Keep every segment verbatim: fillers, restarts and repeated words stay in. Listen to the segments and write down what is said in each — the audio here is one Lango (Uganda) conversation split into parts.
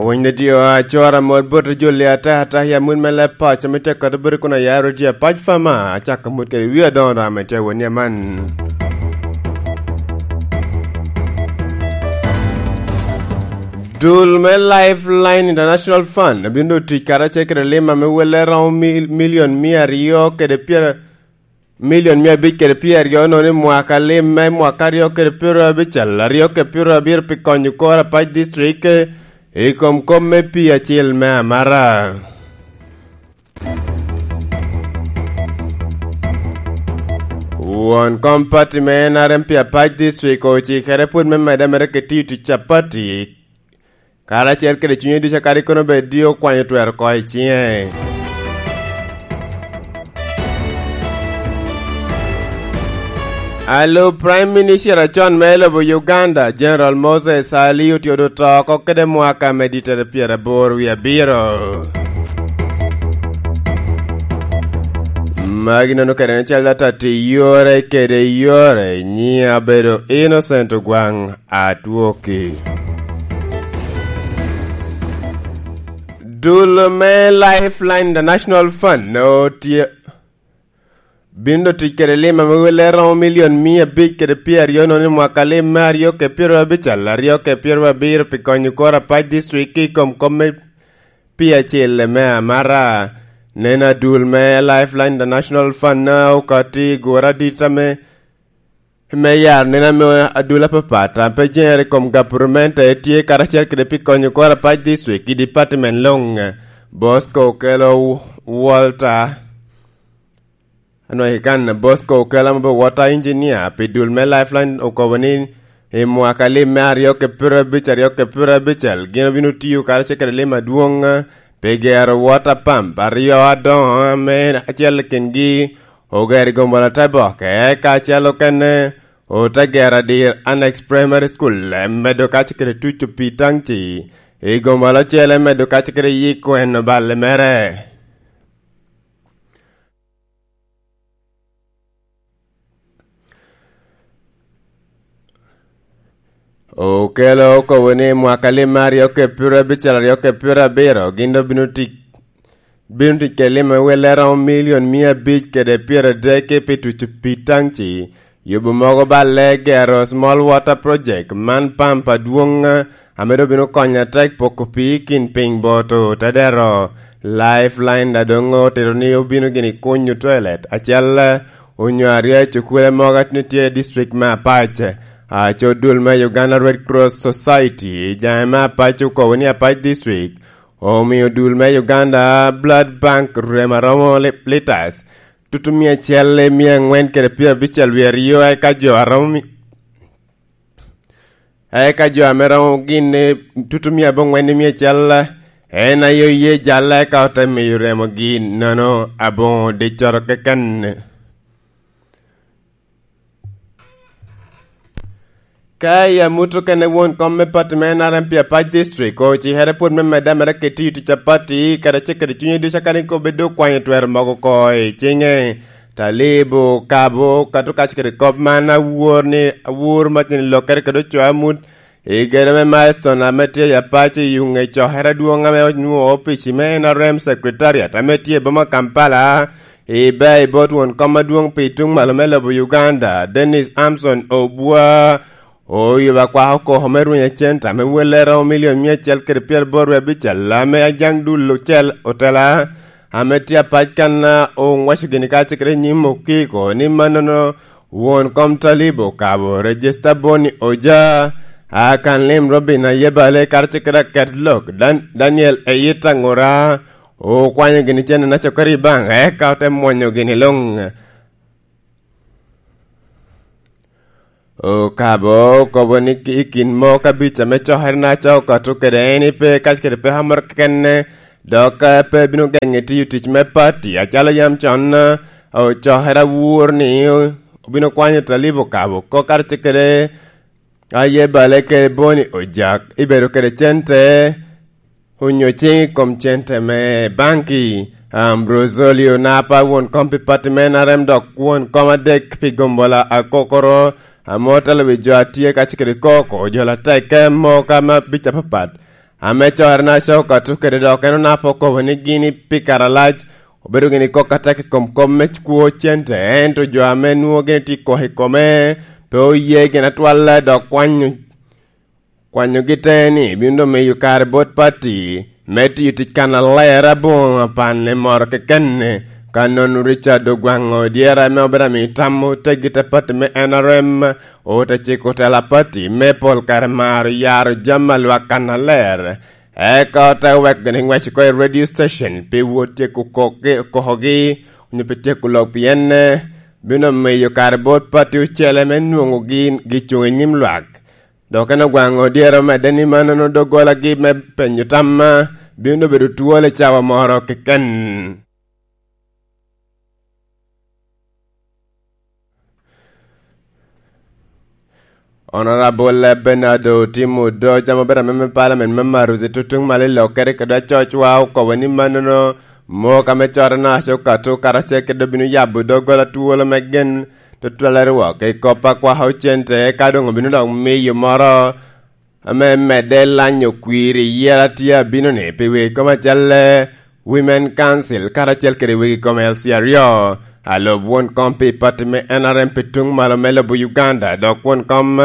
Pwony ne tio acora mot bot joli ata ata ya mut me leb pac ame tye kata bere kun ayaro tye apac fama acako mut kede wi adoŋo doŋ ame tye woni aman. Dul me Lifeline International Fund obino doŋ tic karacel kede lim ame welle romo mil-, milion mia aryo kede pyera, milion mia abic kede pyeraryo nono i mwaka lim me mwaka aryo kede pyeraryo abical, aryo kede pyeraryo abiro pi konyo kor apac district i kom kop me pii acil me amara. Won kom pati me N R M pi apac district ocikere pwod me medde mere ki tiyo tic a pati, karacel kede cunye ducu kadi kono bed dio kwanyo twero oko i ciŋe. Alo Prime Minister acon me lobo Uganda, General Moses Ali, otye odo to oko kede mwaka me ditere pyeraboro wie abiro. Magi nono kede ni cal data ti yore kede yore, nyi abedo Innocent Ogwang. Atwoki. Dul me Lifeline International Fund otye, bino tic kede lim ame welle romo milion mia abic kede pyeraryo nono i mwaka lim me aryo ke pyeraryo abical, aryo ke pyeraryo abiro pi konyo kor apac district i kom kom me pii acel me amara. Nen adul me Lifeline International Fund na okati gura dit ame me yaro nen ame adul apapat a pe jeŋere i kom gavurment a etye karacel kede pi konyo kor apac district i department luŋ. Bosco Okello Walter, anwagi kan Bosco Okello ame obedo water engineer pi dul me Lifeline okobo ni i mwaka lim me aryo ke pyerabicel, aryo ke pyerabicel, gin obino tiyo karacel kede lim adwoŋ pi gero water pump aryo adoŋo ame acel i kingi ogero i gombolote boke, eka acel okene ote gero adir Annex Primary School, medo kac kede tuco pi taŋci i gombolote acel, medo kac kede yiko en oballe mere. Okelo okobo ni mwaka lim me aryo ke pyerabicel, aryo ke pyerabiro, gin doŋ bino tic, bino tic kede lim me welle romo milion mia abic kede pyeradek pi tuco pi taŋci, yubo mogo balle, gero small water project, man pamp adwoŋ ame doŋ bino konyo atek poko pii i kin piny bot otedero. Lifeline daŋ doŋ otito ni obino gini kunyo toilet acel onyo aryo i cukule mogo a tye i district me Apac. Aco dul me Uganda Red Cross Society i jaŋe me Apac okobo ni Apac District omio dul me Uganda Blood Bank rem aromo li-, litas tutu mia acel i mia aŋwen kede pyerabicel wie aryo, eka jo aromo mi-, eka jo ame romo gin i tutu mia aboŋwen i mia acel en aye oye jalla, eka ote miyo remogi nono aboŋo diccoro keken. Ka i amut okene, won kom me pati me N R M pi Apac District ocikere pwod me medde mere kede tiyo tic a pati, kede cik kede cunye ducu, kadi kobbe doŋ okwanyo twero mogo oko i ciŋe. Talibu Kabo kato kac kede kop man awor ni, awor macin lokkere kede ocoo amut i gedo me Milestone ame tye i Apac i yuŋ i cokere adwoŋ ame onwoŋo opic me N R M Secretariat ame tye i boma Kampala. Ibe i bot won kom adwoŋ pi tuŋ malo me lobo Uganda, Dennis Amson Obua, oyubo akwako koko me rwenyo cente ame welle romo milion mia acel kede pyeraboro wie abical ame ajaŋ dul ocel otela ame tye Apac kan, oŋwaco gini kacel kede i nyim okiko ni mannono won kom Talibu Kabo, Regista Boni Oja, Akan Lim Robin Ayebale, karacel kede aket lok Dan-, Daniel Eyita Ŋura, okwanyo gini cente na cokere i baŋ, eka ote mwonyo gini luŋ. Okabo okobo ni i kin moo kabic ame cokere na coko kato kede en ipe kac kede peko moro kekene, dok, eh, pe bino geŋe tiyo tic me pati, acalo yam con, eh, ocokere awur ni obino kwanyo Talibu Kabo oko karacel kede Ayebale kede Boni Ojak, ibedo kede cente, onyo ciŋ i kom cente me banki. Ambrosio Lio Napa, won kom pi pati me N R M dok won kom adek pi gombola akokoro, ame otelo wi jo a tye kac kede koko, jo latek, eh, moka ma bic apapat, Ame corre na Caucato kede dok en onapo okobo ni gin i pi kare alac obedo gin i kok atek i kom kop me kwo cente, ento jo ame nwoŋo gin tye i kok i kome pe oye gin atwal, dok kwanyo kwanyogi te ni bino doŋ miyo kare bot pati me tiyo tic kannaler aboŋo apanne moro keken. Ka nono Richard Ogwaŋo dyere ame obedo amiyo tam oteggi te pati me N R M, ote ciko tela pati me pol kare maro yaro jami a lwak kannaler, eka ote weko gini ŋwec oko i radio station pi wot tyeko kokogi, onyo pi tyeko lok pien bino miyo kare bot pati ocele me nwoŋo gin gicuŋ i nyim lwak. Dok en Ogwaŋo dyere omedde ni mannono doggolagi me penyo tamma bino bedo twol i cawa moro keken. Honorable Bernardo Timo Doja ma obedo ameme palamen me Maruzi tutuŋ malo i lokere kede acocwa okobo ni mannono mok ame corre na Caucato karacel kede obino yabo doggola twolo me gen tutwal rwok i kop a kwaka ocente, ka doŋ obino dok miyo moro ame medde lanyo kwir i yera tye abino-ni pi wegi kom acel, Women Council karacel kede wegi kom L C aryo. Alub won kom pi pati me N R M pi tuŋ malo me lobo Uganda, dok won kom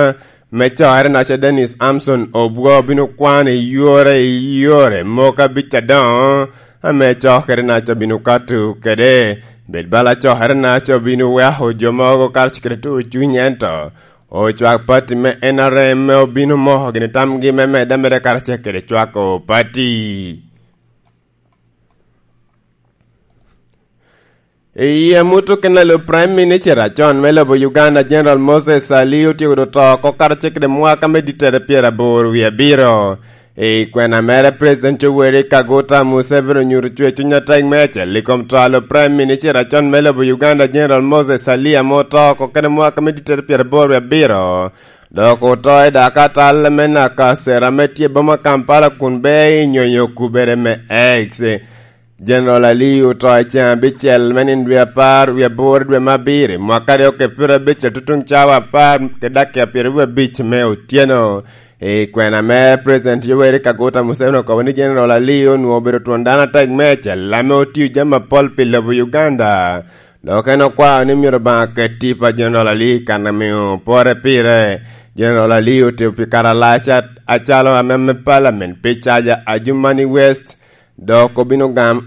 me corre na ca Dennis Amson Obwo bino kwano i yore i yore moko abic adoŋo ame cokere na ca bino kato kede. Bed bala cokere na ca bino weko jo mogo karacel kede tuŋ cuny, ento ocwak pati me N R M me obino moko gini tamgi me medde ameda karacel kede cwako pati. I amut okene, alub Prime Minister acon me lobo Uganda, General Moses Ali, otyeko doŋ to oko karacel kede mwaka me dittere pyeraboro wie abiro. I kwena mere, President Yoweri Kaguta Museveni onyuto cwer cuny atek meicel i kom to alub Prime Minister acon me lobo Uganda, General Moses Ali, ame oto oko kede mwaka me dittere pyeraboro wie abiro. Dok oto i dakatal me Nakasero ame tye i boma Kampala kun bea i nyonyo kubere me X. General Ali oto i ceŋ abicel me nino dwe apar wie aboro dwe me abiro, mwaka aryo kede pyerabicel tutuŋ cawa apar kede dakika pyeraryo abic me otyeno. I kwena mere, President Yoweri Kaguta Museveni okobo ni General Ali onwoŋo obedo twon dano atek meicel ame otio jami apol pi lobo Uganda. Dok en okwao ni myero Obaŋa ket tipo a General Ali kan amio pore pire. General Ali otio pi kare alac a-, acalo ameme palamen pi caja Adjumani West, dok obino gam-,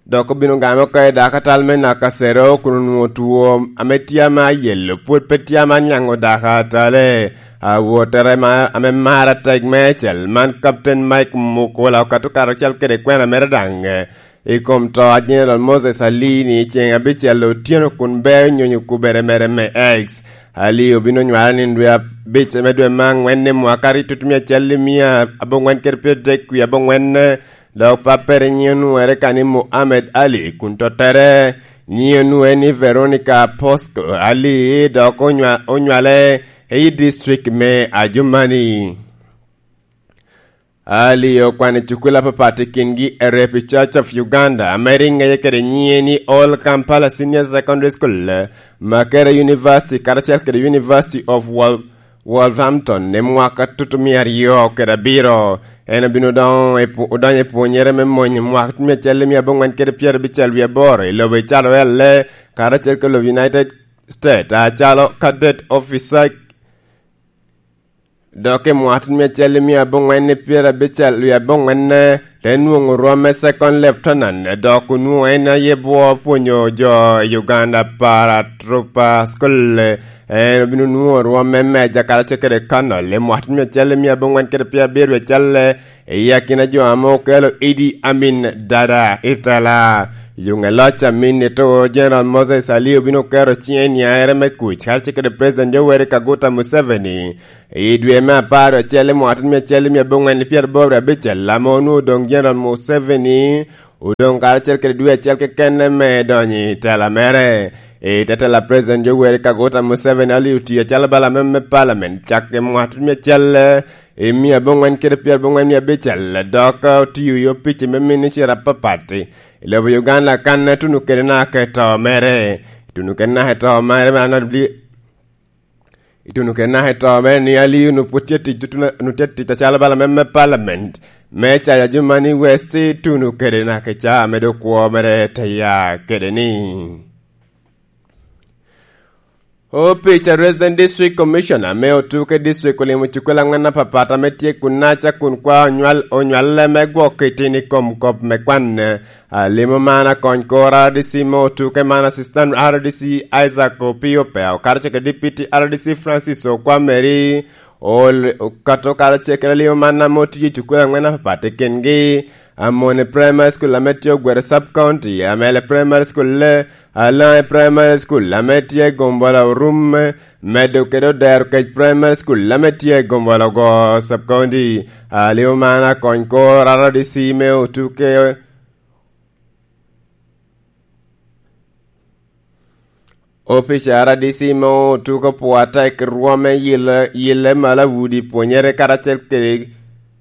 dok obino game oko i dakatal me Nakasero kun onwoŋo two ame tye ame ayelo pwod pe tye ame aniaŋo dakatale. Awottere ma-, ame mar atek meicel man, Captain Mike Mukula, okato karacel kede kwena mere daŋ i kom to a General Moses Ali ni i ceŋ abicel otyeno kun bea onyonyo kubere mere me X. Ali obino nywale nino dwe abic me dwe me aŋwen i mwaka aryo tutumia acel i mia aboŋwen kede pyeradek wie aboŋwen, dok pappere nyiŋe onwoŋere ka ni Muhammad Ali, kun tottere nyiŋe onwoŋere ni Veronica Posco Ali, dok onywa-, onywale i district me Adjumani. Ali okwano i cukul apapat i kingi Erepi Church of Uganda, ame rik ŋeye kede nyiŋe ni Old Kampala Senior Secondary School, Makerere University, karacel kede University of Wol-, Wolverhampton i mwaka tutumia aryo kede abiro. En obino doŋ i pu-, odonyo i pwonyere me mony i mwaka tutumia acel mia aboŋwen kede pyerabicel wie aboro i lobo i Calo L A, karacel kede lobo United States, acalo cadet officer. Dok i mwaka mia acel i mia aboŋwen i pyerabicel wie aboŋwen, te nwoŋo rwom me Second Lieutenant, dok onwoŋo en aye bwo pwonyo jo i Uganda Paratrooper School. En obino nwoŋo rwom me Major karacel kede Colonel i mwaka mia acel i mia aboŋwen kede pyerabiryo acel, i akina jo ame okelo Idi Amin Dada i tela. Yuŋe loc Amin ito, General Moses Ali obino keto ciŋe i niaere me kuc karacel kede President Yoweri Kaguta Museveni. I dwe me apar acel i mwaka mia acel mia aboŋwen pyeraboro abicel, ame onwoŋo doŋ General Museveni odoŋ karacel kede dwe acel keken me donyo i tela mere. I te tela, President Yoweri Kaguta Museveni Ali otiyo acalo bala me, me Parliament cak i mwaka mia acel i mia aboŋwen kede pyeraboro mia abicel, dok otiyo i opic me ministry apapat i lobo Uganda kan tuno kede naka i to mere. Tuno kede naka i to mere me anodli-, Tuno kede naka i to mere ni Aliyu onwoŋo pwod tye tic, tuno, onwoŋo tye tic acalo bala me, me Parliament me cayo Adjumani West, tuno kede naka i caa me dok kwo mere te ya kede ni. Opic a Resident District Commissioner me Otuke District olimo cukul angwen apapat ame tye kun naca kun kwa onywal, onywal me gwok i tin i kom kop me kwan. Alimo man akony kor R D C me Otuke man Assistant R D C Isaac Opio Peo, karacel kede Deputy R D C Francis Okwameri, ol-, okato karacel kede alimo man ame otiyo i cukul angwen apapat i kingi, Amoni Primary School ame tye Ogwere Sub County, Amele Primary School, Alange Primary School ame tye Gombola Orum, medo kede Odero Kec Primary School ame tye Gombola Ogo Sub County. Alimo man akony kor R D C me Otuke. Opic a R D C me Otuke opwoo atek i rwom me yelle, yelle malo a udi pwonyere karacel kede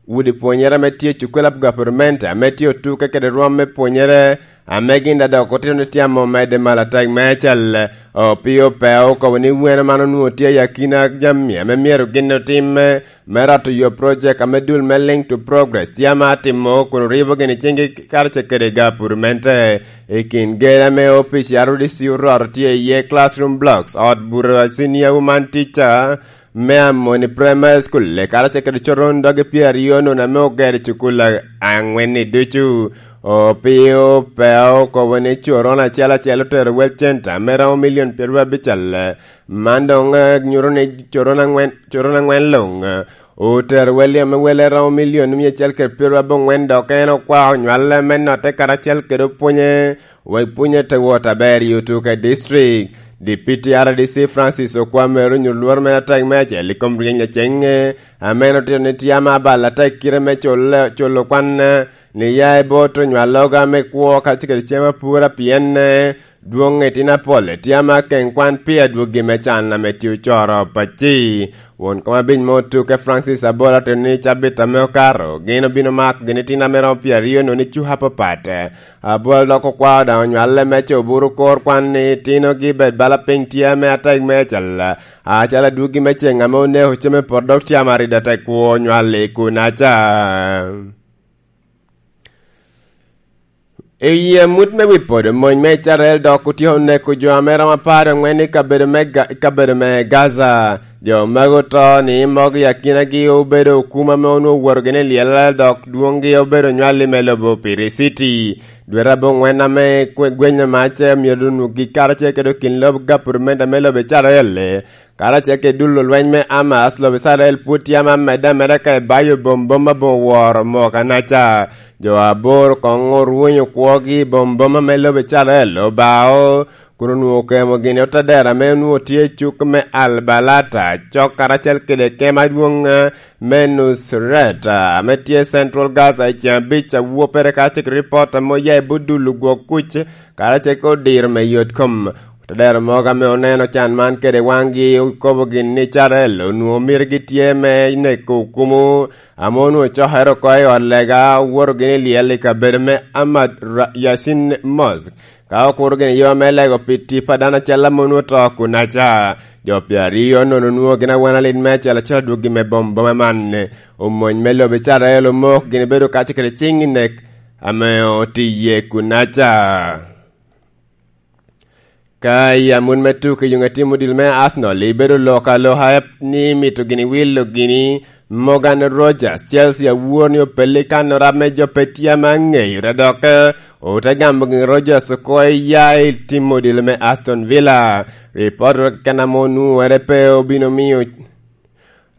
udi pwonyere ame tye i cukul a gavurment ame tye Otuke kede rwom me pwonyere ame gin daŋ dok otito ni tye ame omedde malo atek meicel. Opio Peo okobo ni wene man onwoŋo tye i akina jami ame myero gin otimme me rato yo project ame dul me Link to Progress tye ame atimo kun oribo gini ciŋgi karacel kede gavurmente. I kin gedo ame opic a R D C oroto tye iye classroom blocks, ot buto a senior woman teacher me Amoni Primary School, karacel kede coron doge pyeraryo nono ame ogero i cukul a-, angwen-ni ducu. Opio Peo okobo ni coron acel acel otero wel centa ame romo milion pyeraryo abicel. Man doŋ, eh, nyuto ni coron angwen, coron angwen luŋ, eh, otero wel ame wele romo milion mia acel kede pyeraryo abongwen, dok en okwao nywale me notte karacel kede opwonye, wek pwonye te wot aber i Otuke District. Deputy R D C Francis Okwamere onyodo lworo mere atek me acel i kom ryeny a ceŋe, ame en otito ni tye ame abal atek kite me culo, culo kwan, eh, ni ya i bot onywaloga me kwo kacel kede cem apura, pien, eh, dwoŋ itino apol tye ame akeŋ kwan pi adwogi me can ame tye ocoro pacci. Won kom abic me Otuke Francis Abola otito ni cabit ame okato gin obino mako gin itino ame romo pyeraryo nono i cuka apapat. Abola dok okwao daŋ onywale me coburu kor kwan ni itinogi bed bala piny tye ame atek meicel, acalo adwogi me ceŋ ame oneko cem i poto dok tye ame arida tek kwo onywal i kunaca. I amut me wi podo mony me Icrael dok otyeko neko jo ame romo apar angwen i kabedo me Ga-, i kabedo me Gaza. Jo magi oto ni mogo i akinagi obedo okuma ame onwoŋo owoto gini i lyel, dok dwoŋgi obedo nywal i me lobo Piri City. Dwete abongwen ame kwe-, gwenyo mac myero onwogi karacel kede kin lobo gapurumenta me lobo Icrael. Karacel kede dul olweny me Hamas, lobo Icrael pwod tye ame amedde ameda ka ebayo bombom aboŋo woro mok anaca. Jo aboro koŋ orwonyo kwogi i bombom ame lobo Icrael obao, kun onwoŋo okemo gini otadero ame onwoŋo tye i cuk me Al Balata, cok karacel kede kema adwoŋ, eh, me Nusret, eh, ame tye Central Gaza i ceŋ abic a wopere karacel kede ripot ame oya i but dul ogwok kuc, karacel kede odiro me yot kom. Otadero mogo ame oneno can man kede waŋgi okobo gin ni Icrael onwoŋo mitigi tye me neko okumo, ame onwoŋo cokere oko i ot lega, owoto gini i lyel i kabedo me Ahmad Ra-, Yasin Mosque. Ka okuro gini yo me lego pi tipo a dano acel ame onwoŋo oto kunaca. Jo pyeraryo nono onwoŋo gin awan alit me acel acel adwogi me bom boma man. Omony me lobo Icrael omok gini bedo kacel kede ciŋ i nek ame otiye kunaca. Ka i amut me tuko i yoŋe timo odilo me Arsenal, ibedo lok aloka ni mito gini wilo gini Morgan Rogers. Chelsea awor ni opelli kan orab me jo pe tye ame aŋeyo, te dok, eh, ote gamo gini Rogers oko iya i timo odilo me Aston Villa. Ripot keken ame onwoŋere pe obino miyo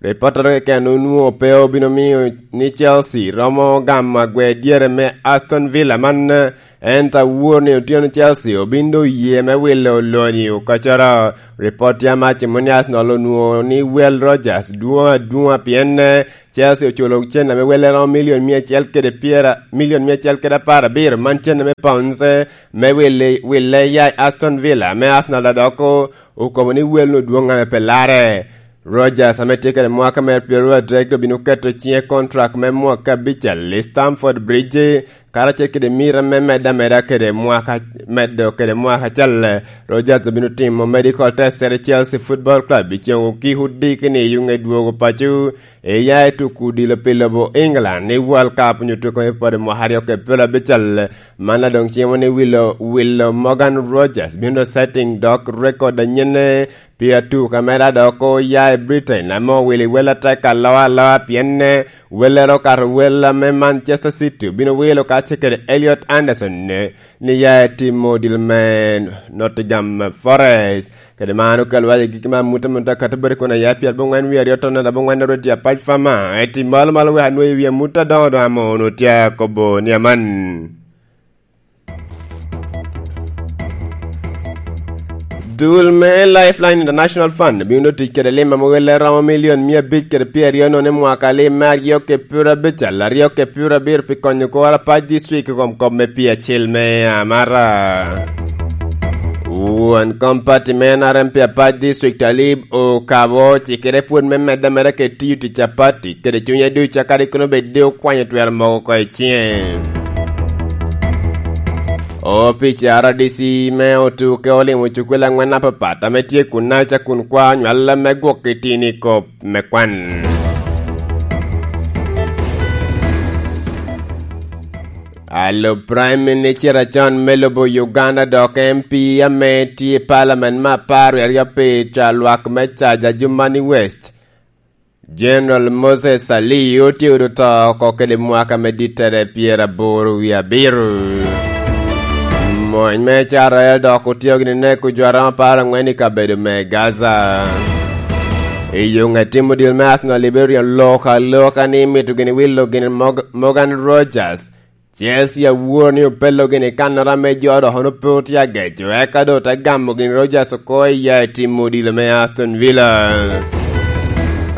Ripottere keken onwoŋo pe obino miyo ni Chelsea romo gamo agwe dyere me Aston Villa man, ento awor ni otyeno Chelsea obin doŋ oye me wilo oloni okocoro. Ripot tye ame acimo ni Arsenal onwoŋo ni wel Rogers dwoŋ adwoŋa pien, eh, Chelsea oculo cen ame welle romo milion mia acel kede pyera, milion mia acel kede apar abiro man cen ame pounds, eh, me wille, wille ya i Aston Villa, ame Arsenal adoko okobo ni wel-nu dwoŋ ame pe larre. Rogers ame tye kede mwaka mere pyeraryo adek obino keto ciŋe kontrak me mwaka abicel i Stamford Bridge, Karacel kede mira me medde ameda kede mwaka, medo kede mwaka acel, Rodgers obino timo medical test kede Chelsea Football Club i ceŋ okiko diki ni i yuŋe dwogo paco, eya i tuko odilo pi lobo England i World Cup onyo tuko me pwod mwaka aryo kede pyerabicel. Man a doŋ cimo ni wilo, wilo Morgan Rodgers bino setting dok record anyenne pi atuka mere a dok oya i Britain, ame owilo i wel atek aloa aloa, pien, eh, welere okato wel ame Manchester City obino wilo kacel kede Elliot Anderson, eh, ni ya etimo odilo me Nottingham Forest. Kede man okelo wa i gik me amut amut akato bere kun aya pyerabongwen wie aryo tonnere abongwen rwed tye apac fama. Eti malo malo wek anwoyi wi amut adoŋo doŋ amo onwoŋo tye akobo ni aman. Dul me Lifeline International Fund bino tic kede lim ame welle romo milion mia abic kede pyeraryo nono i mwaka lim me aryo kede pyerabicel, aryo kede pyerabiro pi konyo kor apac district i kom kop me pii acel me Amara. Won kom pati me N R M pi apac district Alib Okabo cikere pwod me medde ameda kede tiyo tic a pati kede cunye ducu, akadi kono bed de okwanyo twero mogo oko i ciŋe. Opic R D C me Otuke olimo cukwel angwen apapat ame tye kun naca kun kwa nywal me gwok i tini kop me kwan. Alub Prime Minister acon me lobo Uganda dok M P ame tye i Parliament me apar wie aryo pi ca lwak me Caja Jumani West, General Moses Ali otye odo to oko kede mwaka me dittere pyeraboro wie abiro. Mony me Israel dok otio gini neko jo aromo apar angwen i kabedo me Gaza. I yo ŋet timo dil me Arsenal Liberia lok aloka ni mito gini wilo gini Mog-, Morgan Rogers. Chelsea awor ni opello gini kannoro ame jo dok ono pe otye ageco, eka doŋ te gamo gini Rogers oko i ya i timo odilo me Aston Villa.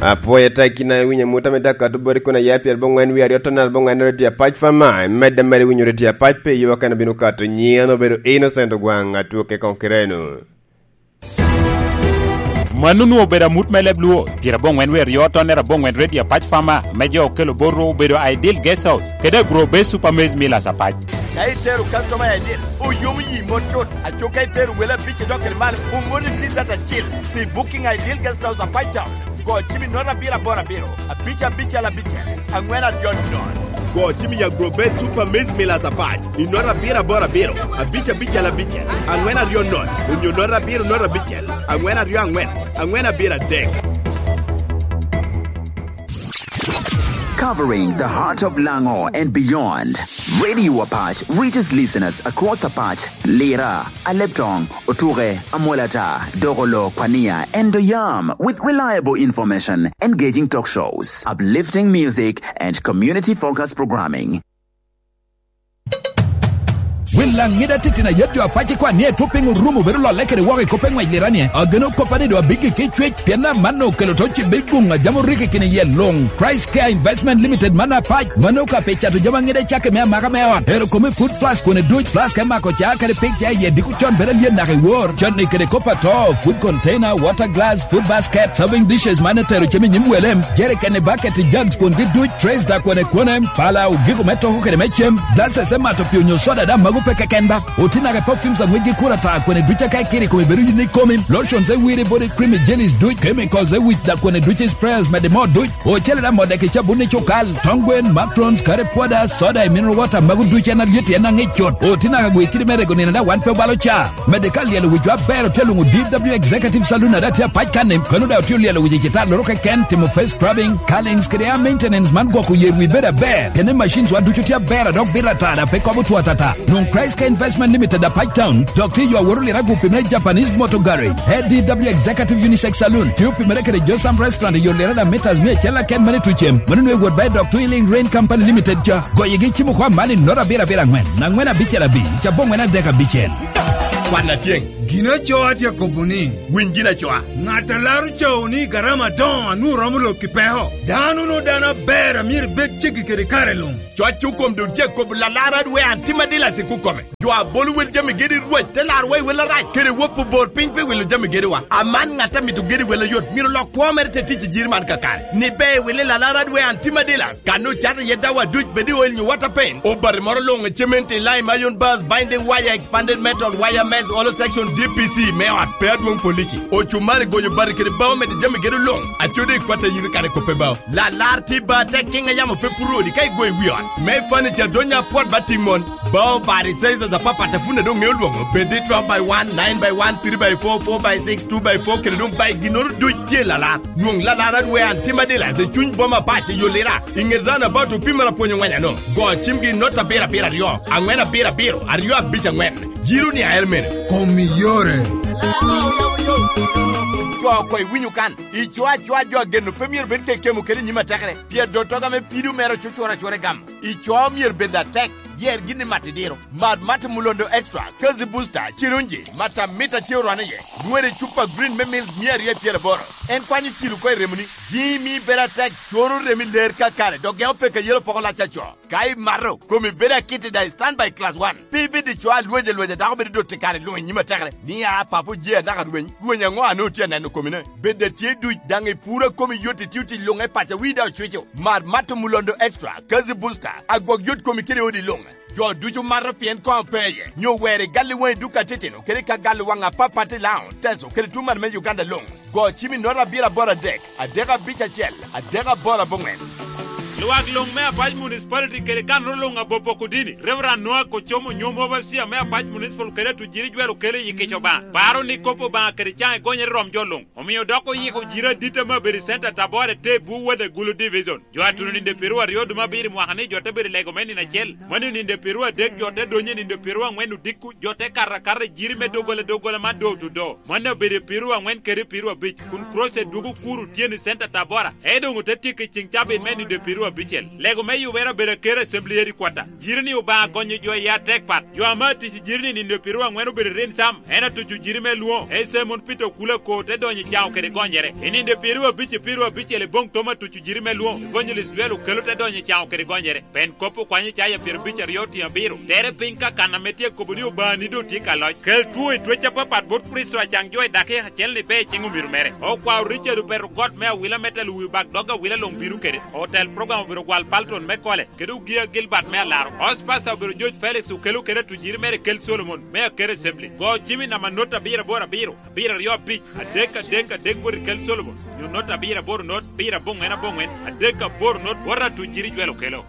Apwoyo tek kin a iwinyo amut ame dakato boti kun aya pyerabongwen wie aryo tonnere abongwen redio apac fama, imedde mere winyo redio apac pi yo kene bino kato nyiŋ obedo Innocent Ogwaŋ atwoke koŋ kireno. Mano onwoŋo obedo amut me leb Luo, pyerabongwen wie aryo tonnere abongwen redio apac fama, me jo okelo bot Rwo obedo Ideal Guest House, kede Agro Bay Super Maize Millers apac. Ka itero customer i Ideal, oyomo yi mot cut, aco ka itero wele abic idok kede malo, omoni T-shirt acil. Pi booking Ideal Guest House apac town, go cim i nota abiro aboro abiro, abic abicel abicel, angwen aryo nono. Go cim i Agro Bay Super Maize Millers apac, i nota abiro aboro abiro, abic abicel abicel, angwen aryo nono, onyo nota abiro nota abicel, angwen aryo angwen, angwen abiro adek. Covering the heart of Lango and beyond, Radio Apac reaches listeners across Apac, Lira, Aleptong, Otuke, Amolata, Dogolo, Kwania, and Doyam with reliable information, engaging talk shows, uplifting music, and community-focused programming. Wil Laŋida titino ayet jo apac i kwan ni etwo piny orumo bedo lolle kede woko i kop pe ŋwec Lira ni, ageno koppa ni doŋ abiggi ki cwec, pien amanno okelo to cibbe i guŋ a jami orikki kine iye luŋ. Christ Care Investment Limited man apac, mano ka pe cato jami aŋida i cakke me amaka me ot. Ero kome food flask kone duc, flask me mako ca kede pig ca iye diko con bedo alyen naka i wor. Con ni kede kop ato, food container, water glass, food basket, serving dishes man etero cem i nyim wele, jereken i bucket i jugs kwongi duc, trays da kone kone, pala, ogiko me toko kede me cem, glasses me mato pii onyo soda da mago pe keken ba. Oti naka i perfumes aŋwec gi kura ta kone duc aka ikiri kome bedo yin ikomi, lotions e wiri body cream i jellies duc, chemicals e wic da kone duc i sprayers mede mo duc. Ocele da modde ki cabun i cukal, tong gwen, macarons, curry powder, soda i mineral water, mago duc en alyet en aŋic cut. Oti naka gwe kidi me rego nino da wan pe obalo ca. Medde ka lyelo wicwa aber otye luŋo D W Executive Saloon ada tye apac kan-ni, kano da otye olyelo wic i citalloro keken, timo face scrubbing, curlings kede hair maintenance man gwoko yer wi bedo aber. Kene machines wa ducu tye aber a dok bito ata da pe kobo two atata. Nwoŋ Christ Care Investment Limited apac town, dok tye yo aworo lira gupi me Japanese Motor Garage. A D W Executive Unisex Saloon tye opimere kede Josam Restaurant i yo lira da meters mia acel aken mane tucem. Mano nwe wot ba i dok Twilling Rain Company Limited ca. Goyegi cimo kwa mani nota abiro abiro angwen, angwen abicel abicel, cabo angwen adek abicel. Kwan atyeŋ. Gin acoa tye akobo ni, winy gin acoa. Ŋat a laro cawo ni garama adoŋo a nwoŋo romo lok i peko. Dano no dano aber. Amyero ibed ceggi kede kare luŋ. Cwac okom dun cek kobo lalar adwe an tim adila sik okome. Jo a bolo wel jami gedi Rwec te larwa i wel arac, kede wop obor piny pi wilo jami gediwa. Aman ŋat a mito gedi wel ayot myero lok kwo mere te tic i jiri man kakare. Ni be wili lalar adwe an tim adilas, kan ocato iye dawa duc bed i oil nyo water paint. Obati moro luŋ i cement i lime iron bars, binding wire, expanded metal, wire mesh, hollow section, D P C me ot pe adwoŋ polici. Ocumari goyo bati kede bao mede jami gedi luŋ. Acode i kwata yiri kare kope bao. Lalar tye ba tek kiŋ a yamo pe puro odi ka igoyo i wi ot. Me furniture donya apwot ba tiŋ mon. Bao bati sizes apapat a pwod doŋ ŋeo lwoŋo. Bed i twelve by one, nine by one, three by four, four by six, two by four, kede doŋ bai ginnoro duc tye lalar. Nwoŋ lalar adwe an tim adilas i cuny boma pac i Yolira. I ŋet roundabout opimere apwony ongweny ano. Go cimgi i not abiro abiro aryo, aŋwen abiro abiro, aryo abic aŋwen. Jiro ni ael mene. Kom i yore. Co oko iwinyo kan. Ico acoa jo ageno pe myero bed kekemo kede i nyim atekere, pien dottoga me pido mere ocucoro acura i gamo. Ico myero bed atek, yer gin i mat idiro. Mad Mata Mulondo Extra, Kazi Booster, Cirunji, mata mita tye orwane iye. Nyweri cupa green me milk mia aryo i pyeraboro. En kwanyo cilo oko i remoni. Jimi bedo atek, coro remi ler kakare, dok geko peke yelo poko lac aco. Ka imato, komi bedo akit i daŋ stand by class one. Pe ibed i co a lweny alwenya dako bedo dot i kare luŋ i nyim atekere. Ni a papo je anaka rweny, rweny aŋo a nwoŋo tye aneno komine? Bed a tye duc daŋ i puro a komi yot itio tic luŋ e paco a wii daŋ ocwico. Mar Mato Mulondo Extra, Kazi Booster, agwok yot komi kede odi luŋ. Jo ducu mato pien koŋ pe iye, nyo wer i gal i waŋ i duka titino kede ka gal i waŋ apapat i Laon, Teso kede tuŋ man me Uganda luŋ. Go cim i nota abiro aboro adek, adek abic acel, adek aboro aboŋwen. Lwak luŋ me Apac Municipality kede kanoro luŋ a Bopok Odini, Reverend Noah Kocomo Nyom, Overseer me Apac Municipal kede Atujiri Jwel Okelo i Kica Obaŋa, paro ni kop Obaŋa kede caŋ egonyere rom jo luŋ, omio dok oyiko jiro adit ame obedo i Center Tabora te bwo wode Gulu Division. Jo a tuno nino pyeraryo dum abiro i mwaka ni jo te bedo i lego me nino acel, mano nino pyeraryo adek jo te donyo i nino pyeraryo aŋwen odiko, jo te kato akata i jiri me doggola doggola man door to door. Mano obedo i pyeraryo aŋwen kede pyeraryo abic, kun crusade dwogo kuro otyeno i Center Tabora, ento doŋ ote tyeko i ceŋ cabit me nino pyeraryo abicel. Lego me yubere obedo aker Assembly Headquarter. Jiri ni Obaŋa gonyo jo i atek pat. Jo ame atic i jiri ni nino pyeraryo aŋwen obedo i Rinsam, en atuco jiri me lwoŋo, Ese Mon Peter Okula Ko te donyo i caŋo kede gonyere. I nino pyeraryo abic i pyeraryo abicel i boŋ Tom atuco jiri me lwoŋo, Evangelist Jwel Okelo te donyo i caŋo kede gonyere. Pen kop okwanyo Icaya pyerabicel aryo tiŋ abiro, tere piny ka kan ame tye akobo ni Obaŋani doŋ tye ka loc. Kel two i twec apapat bot Kricito acaŋ jo i dakika acel ni be i ciŋ omiro mere. Okwao Richard Opeto Got me Awila me telo wi bak dog Awila luŋ bino kede. Otel program obedo Gwal Palton me Kole, kede Ogia Gilbert me Alaro. Host Pastor obedo George Felix Okelo kede atujiri mere Kel Solomon me Akero Assembly. Go cim i namba not abiro aboro abiro, abiro aryo abic, adek adek adek bot i Kel Solomon, nyo not abiro aboro not, abiro aboŋwen aboŋwen, adek aboro not, bot atujiri Jwel Okelo.